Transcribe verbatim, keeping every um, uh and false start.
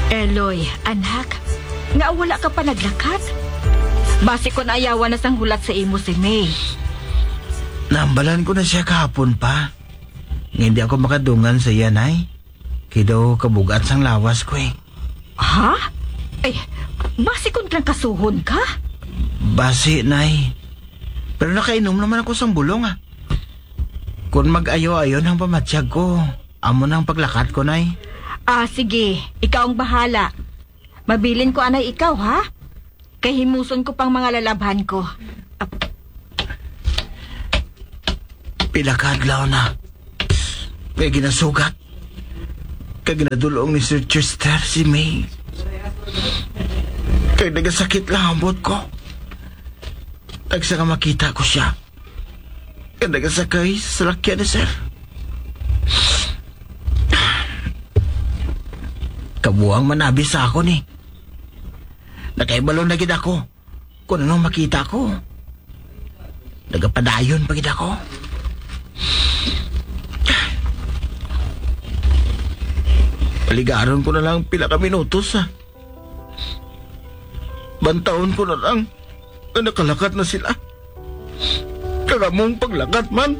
Eloy, anak, nga wala ka pa naglakat? Basi kon ayawan na sang hulat sa imo si May. Nahambalan ko na siya kahapon pa. Nga hindi ako makadungan sa iya, Nay. Kay daw kabugat sang lawas ko eh. Ha? Eh, basi kon trangkasuhon ka? Basi, Nay. Pero nakainom naman ako sang bulong, ah. Kung mag-ayo-ayo nang pamatyag ko, amo nang paglakat ko, Nay. Ah, sige. Ikaw ang bahala. Mabilin ko anay ikaw, ha? Kay himuson ko pang mga lalabhan ko. Pila ka adlaw na. Kay ginasugat. Kay ginadulong ni Sir Chester si May. Kay nagasakit lang ang buot ko. Tagsa nga makita ko siya. Kay nagasakay sa salakyan ni Sir. Kabuang manabi sa akon eh. Nakaibalo na gid ako kung anong makita ko. Nagapadayon pa gid ako. Paligaron ko na lang pila ka minutos, ah. Bantawon ko na lang nga nakalakat na sila. Kag among paglakat man,